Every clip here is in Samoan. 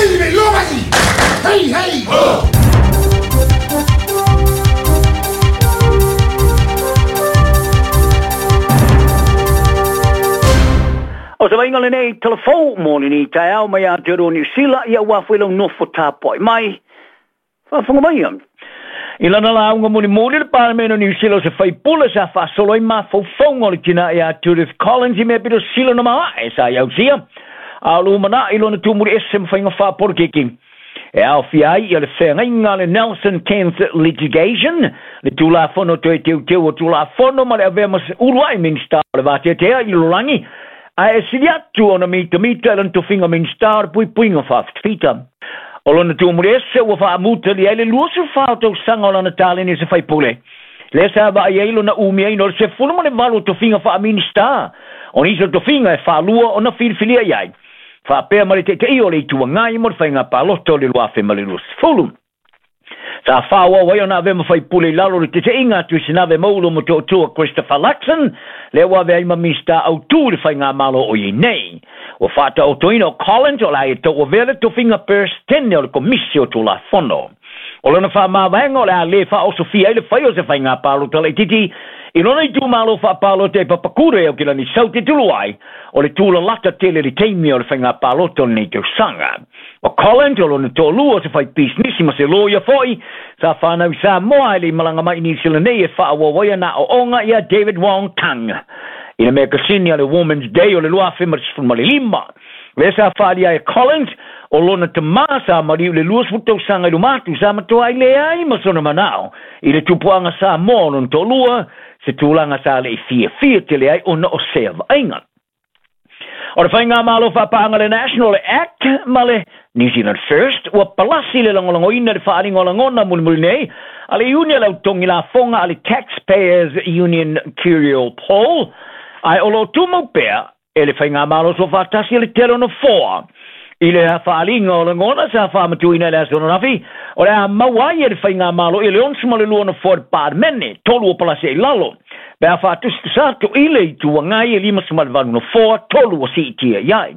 Hei, hei! O se vaaiga lenei talafou mo lenei taeao mai Aotearoa Niu Sila, ia ua foi lau nofo tapuai mai. Faafofoga maia. I lana lauga mulimuli le Palemene o Niu Sila o se faipule sa faasolo ai mafaufauga o le tina ia Judith Collins i mea pito sila na maoae sa i ausia a o lumanai i lona tumuli ese ma faiga faapolokiki e aofia ai ia le feagaiga a le Nelson Cancer Litigation, le Tulafono Toe Teuteu o Tulafono ma le avea ma se uluai Minisita o le Vateatea i le Lalolagi, ae e sili atu ona mitamita i lona tofiga Minisita o le Puipuiga Faafitafita. O lona tumuli ese ua faamutalia ai le 24 o tausaga o lana taleni o se faipule, lea sa vaai ai lona umiaina o le 18 o tofiga faa-Minisita, o nisi o tofiga e faalua ona filifilia i ai, faapea ma le taitaia o le Itu Agai mo le faiga palota o le 2020. Sa faaauau ai ona avea ma faipule i lalo o le taitaiga a Tuisinave Maulo Motootua Christopher Luxon, lea ua avea ai ma Minisita autu i le faigamalo o i ai nei. Ua faataotoina o Collins o le a ia tauavea le tofiga Peresetene o le Komisi o Tulafono. O lona faamavaega o le a le faaosofia ai le fai o se faiga palota laitiiti i lona itumalo faapalota i Papakura i Aukilani South e tulu ai o le tulalata tele i le taimi o le faiga palota o lenei tausaga. O Collins o lona toalua o se fai pisinisi ma se loia foi sa whanau i Samoa e le i malaga mai i Niu Sila nei e faaauau ai ana aoaoga ia David Wong Tung i le mekasini a le Women's Day o le 2015. Lea sa faaalia ai e Collins o lona tamā sa maliu i le 20 tausaga i luma atu sa matoa ai leai ma sona manao i le tupuaga Samoa o lona toalua, se tulaga sa le i fiafia tele ai ona o sea vaaiga. O le Faigamalo Faapaaga le National Act ma le New Zealand First ua palasi le lagolagoina i le faaaliga o lagona mulimuli nei a le iuni a le au togi lafoga a le Taxpayers Union Curial Poll, ae o lo o tumau pea e le Faigamalo Soofaatasi a le tele o nofoa. I le faaaliga o lagona sa faamatuina i le aso ananafi, o le a maua ai e le Faigamalo i le 62 nofoa i le Palemene, tolu o palasi ai lalo, pe a faatusatusa atu i le Itu Agai e 58 nofoa, tolu ua siitia i ai.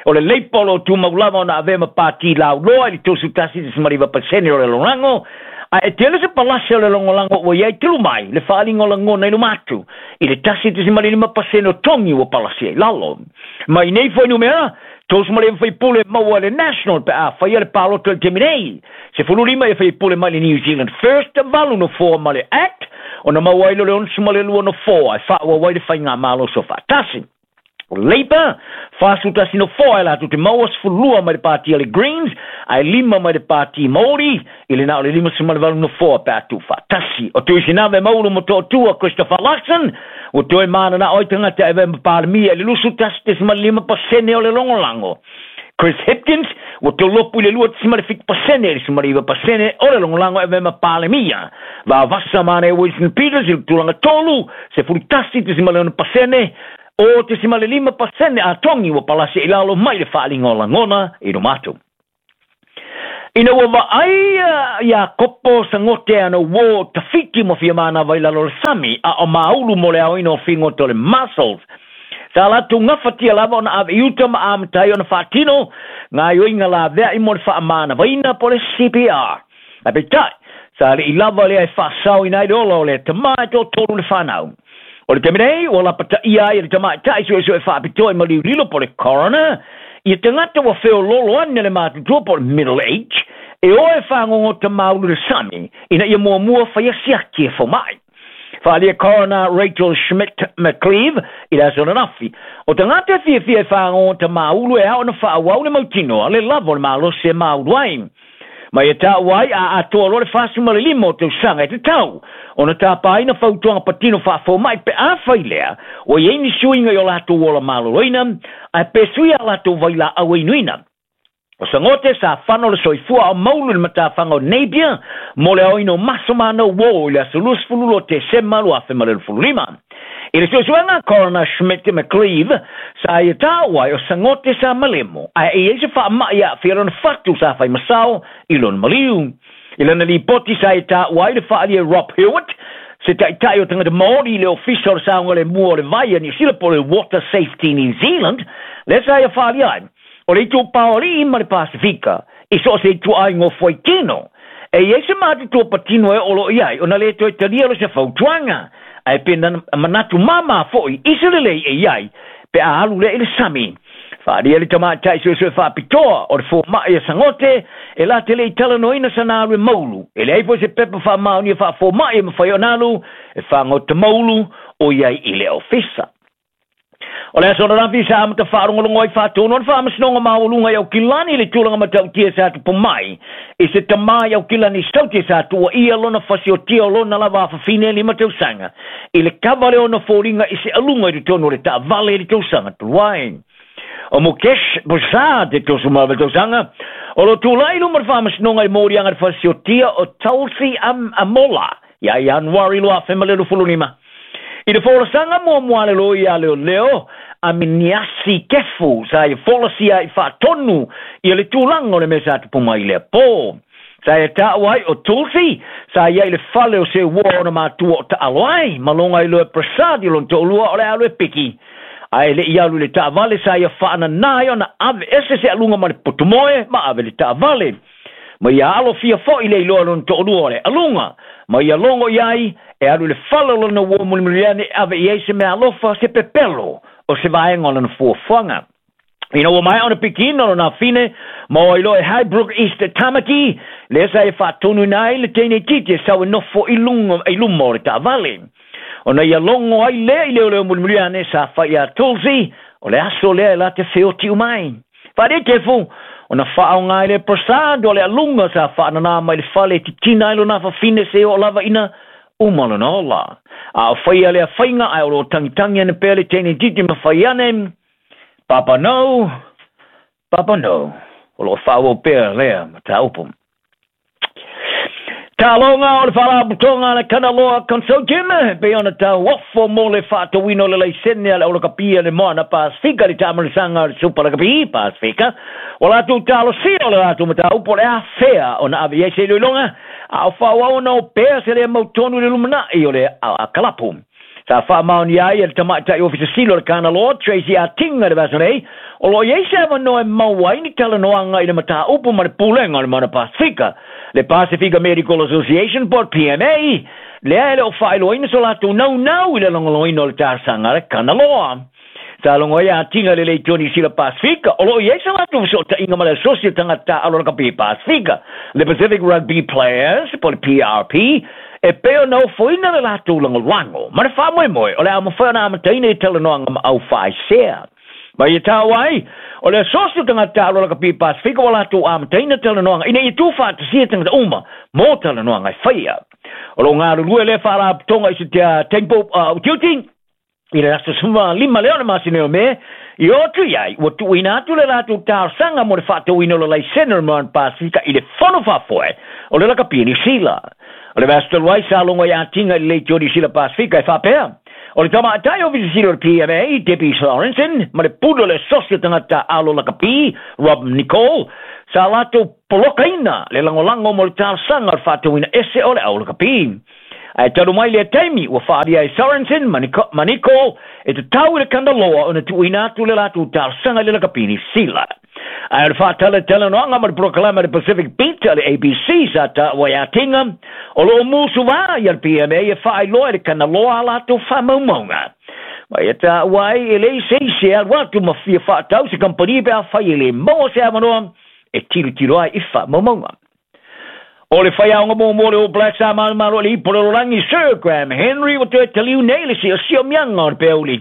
O le Leipa o lo o tumau lava ona avea ma pati lauloa i le 31.9% o le lagolago, ae e tele se palasi o le lagolago ua i ai talu mai le faaaliga o lagona i luma atu i le 1.5% o togi ua palasi ai lalo. Mai nei fuainumera, 39 faipule maua e le National pe a faia le palota i le taimi nei, 15 ia faipule mai le New Zealand First, 8 nofoa ma le Act, ona maua ai lea o le 62 nofoa e faaauau ai le faigamalo soofaatasi. O Labour, 41 nofoa e latou te maua, 12 mai le pati a le Greens, ae 5 mai le pati Māori, i le na o le 58 nofoa pe a tuufaatasi. O Tuisinave Maulu Motootua Christopher Luxon, ua toe mananao ai tagata e avea ma Palemia i le 21.5% o le lagolago. Chris Hipkins, ua tolopu i le 2.7% i le 19% o le lagolago e avea ma Palemia. Vavasa manaia Winston Peters i le tulaga tolu, 11.6%, o 0.5% a togi ua palasi i lalo mai le faaaliga o lagona i luma atu. Ina ua vaai ia Kopo Sagote ana uō tafiti ma fia manava i lalo o le sami a o maulu mo le aoina o figota o le mussels. Sa latou gafatia lava ona ave i uta ma amata ai ona faatino gaoioiga laveai mo le faamanavaina po o le CPR. Ae peitai, sa le i lava lea e faasaoina ai le ola o lea tamā e toatolu le fanau. O le taimi nei, ua lapataia ai e le tamaitai suesue faapitoa i maliu lilo po o le coroner ia tagata ua feoloolo ane le matutua po o le middle age e o e fagogota maulu le sami ina ia muamua faia siaki e fomai. Faaalia Coroner Rachel Schmidt McCleave i le aso ananafi. O tagata e fiafia e fagogota maulu e ao ona faaauau le mautinoa le lava o le malosi e maulu ai. Ma ia taua ai a atoa loa le 45 o tausaga e tatau ona tapaina fautuaga patino faafomai pe afai lea ua i ai ni suiga i o latou ola maloloina ae pe sui a latou vailaau e inuina. O Sagote sa fano le soifua o maulu i le matafaga o Napier mo le aoina o maso ma ana uō i le aso 22 Tesema 2025. I le suesuega Coroner Schmidt McCleave sa ia taua ai o Sagote sa malemo ae e i ai se faamai e aafia lona fatu sa fai masao i lona maliu. I lana lipoti sa ia taua ai le faaalia e Rob Hewitt, se taitai o tagata Māori i le Ofisa o le Saogalemu o le Vai a Niu Sila po o le Water Safety New Zealand, lea sa ia faaalia ai. O le itupa o alii ma le Pasifika, i so o se ituaiga o fuaitino, e i ai se matutua patino e oo loa i ai ona le toe talia loa se fautuaga, ae pe na manatu māmā foi i se lelei e i ai pe a alu lea i le sami. Faaalia le tamaitai suesue faapitoa o le fomai a Sagote e la te le i talanoaina sana alu e maulu. E leai foi se pepa faamaonia faafomai e mafai ona alu e fagota maulu o i ai i le ofisa. O le aso ananafi sa amata faalogologo ai faatonu o le Faamasinoga Maualuga i Aukilani i le tulaga matautia sa tupu mai i se tamā i Aukilani Saute sa tuuaia lona fasiotia o lona lava afafine 5 tausaga i le kava le ona foliga i se aluga i totonu o le taavale i le tausaga talu ai. O Mukesh Prasad e 38 tausaga o lo o tulai i luma o le Faamasinoga i moliaga le fasiotia o Tulsi Amola ia Ianuari 2025. I le folasaga muamua a le loia a leoleo a Miniasi Kefu sa ia folasia ai faatonu ia le tulaga o le mea sa tupu mai i lea po. Sa ia taua ai o Tulsi sa i ai i le fale o se uoa ona matua o taalo ai ma loga ai loa e Prasad i lona toalua o le alu e piki. Ae le i alu i le taavale sa ia faanana ai ona ave ese se aluga ma le potumoe ma ave i le taavale. Ma ia alofia foi le iloa lona toalua o le aluga, ma ia logo i ai, e alu i le fale o lona uo mulimuli ane e ave i ai se meaalofa, se pepelo o se vaega o lana fuafuaga. Ina ua maea ona pikiina lona afine, ma o ai loa e Highbrook East Tamaki, lea sa e faatonuina ai le teine itiiti e sau e nofo i luga i luma o le taavale. Ona ia logo ai lea i leoleo mulimuli ane sa fai iā Tulsi, o le aso lea e la te feoti uma ai. Faadetefu, ona faaaoga ai le Prasad o le aluga sa faananā mai le fale e titina ai lona afafine se oo lava ina uma lona ola. A o faia lea faiga ae o lo o tangitangi ane pea le teine itiiti ma fai ane, Papa no, Papa no. O lo o faaauau pea lea mataupu. Taloga o le Faalapotopotoga a le Kanaloa Consortium e pei ona tauofo mo le faatauina o le laisene a le aulakapi a le Moana Pasefika i le taamalisaga o le Supa Lakapi Pasefika. Ua latou talosia o le latou mataupu o le afea ona ave i ai se iloiloga a o faaauau ona o pea se lea mautonu i le lumanai o le kalapu. Sa faamaonia ai e le tamaitai Ofisa Sili o le Kanaloa, Tracy Atinga i le vaiaso nei, o lo o i ai se avanoa e maua ai ni talanoaga i le mataupu ma le Pulega o le Moana Pasefika, le Pasefika Medical Association po o le PMA, lea e le o faailoaina so latou naunau i le lagolagoina o le talosaga a le Kanaloa. Sa logo ai a Atinga i le Leitio Niu Sila Pasefika, o lo o i ai sa latou fesootaiga ma le Asosi o Tagata Taaalo Lakapi Pasefika, le Pacific Rugby Players po o le PRP, e pei ona ofoina le latou lagolago ma le faamoemoe o le a mafai ona amataina i talanoaga ma au faaisea. Ma ia taua ai, o le Asosi o Tagata Taaalo Lakapi Pasefika ua latou amataina talanoaga ina ia tuufaatasia tagata uma mo talanoaga e faia. O lo o galulue lea faalapotopotoga i se Temple Utiuti, I le aso 15 lea o le masina o Me, i o atu i ai, ua tuuina atu le latou talosaga mo le faatauina o le laisene o le Moana Pasifika i le Fono Faafoe o le Lakapi o Niu Sila. O le vaiaso talu ai sa logo ai Atinga i le Leitio o Niu Sila Pasifika e faapea, o le tamaitai Ofisa Sili o le PMA, Debbie Sorensen, ma le pule o le Asosi o Tagata Taaalo Lakapi, Rob Nicol, sa latou polokaina le lagolago mo le talosaga o le faatauina ese o le au lakapi. Ae talu mai lea taimi, ua faaalia e Sorensen ma Nicol e tatau i le Kanaloa ona tuuina atu le latou talosaga i le lakapi Niu Sila. Ae o le faatalatalanoaga ma le polokalame a le Pacific Beat a le ABC sa taua ai Atinga, o lo o musuva ia le PMA e faailoa i le Kanaloa a latou faamaumauga. Ma ia taua ai e leai se isi e alu atu ma fia faatau se kamupani pe afai e le maua se avanoa e tilotilo ai i faamaumauga. O le faiaoga muamua o le All Blacks a Malomalo Alii po o le Lolagi Sir Graham Henry ua toe taliu nei i le siosiomiaga o le peauli.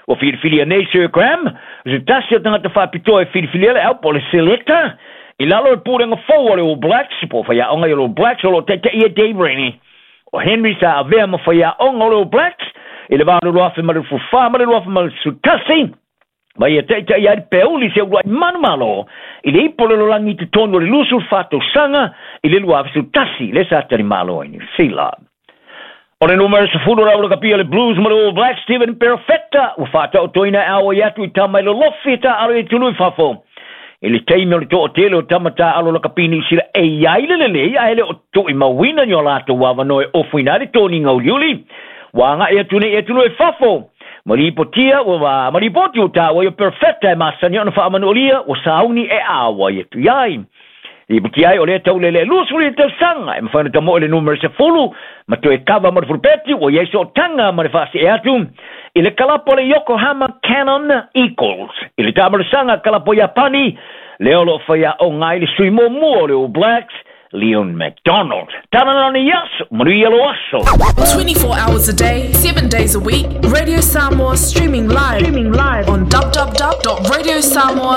Ua filifilia nei Sir Graham, o se tasi o tagata faapitoa e filifilia le au po o le selector i lalo o le pulega fou a le All Blacks po o faiaoga i le All Blacks o lo o taitaia e Dave Rennie. O Henry sa avea ma faiaoga o le All Blacks i le va o le 2024 ma le 2021, Ma ia taitai ai le peauli se uluai manumalo i le ipo o le lolagi i totonu o le 24 tausaga i le 2011 lea sa talimalo ai Niu Sila. O le numera 10 o le aulakapia le Blues ma le All Blacks Stephen Perofeta ua faataotoina e auai atu i tama i lolofi e taaalo i atunuu i fafo. I le taimi o le toatele o tama taaalo lakapi Niu Sila e i ai le lelei ae le o tuuimauina ni o latou avanoa e ofoina ai le toniga uliuli ua agai atu nei i atunuu i fafo. Ma lipotia ua ma lipoti ua taua ia perfeta e masani ona faamanualia ua sauni e auai atu i ai. Lipoti ai o lea taulele 20 tausaga e mafai ona tamoe le numera 10 ma toe kava ma le fulupeti ua i ai sootaga ma le faasee atu i le kalapo le Yokohama Canon Eagles. I le taamalosaga kalapo Iapani lea o loo faiaoga ai le sui muamua o le All Blacks Leon MacDonald. Tala lana i aso, manuia lo aso. 24 hours a day, 7 days a week. Radio Samoa streaming live on www.radiosamoa.co.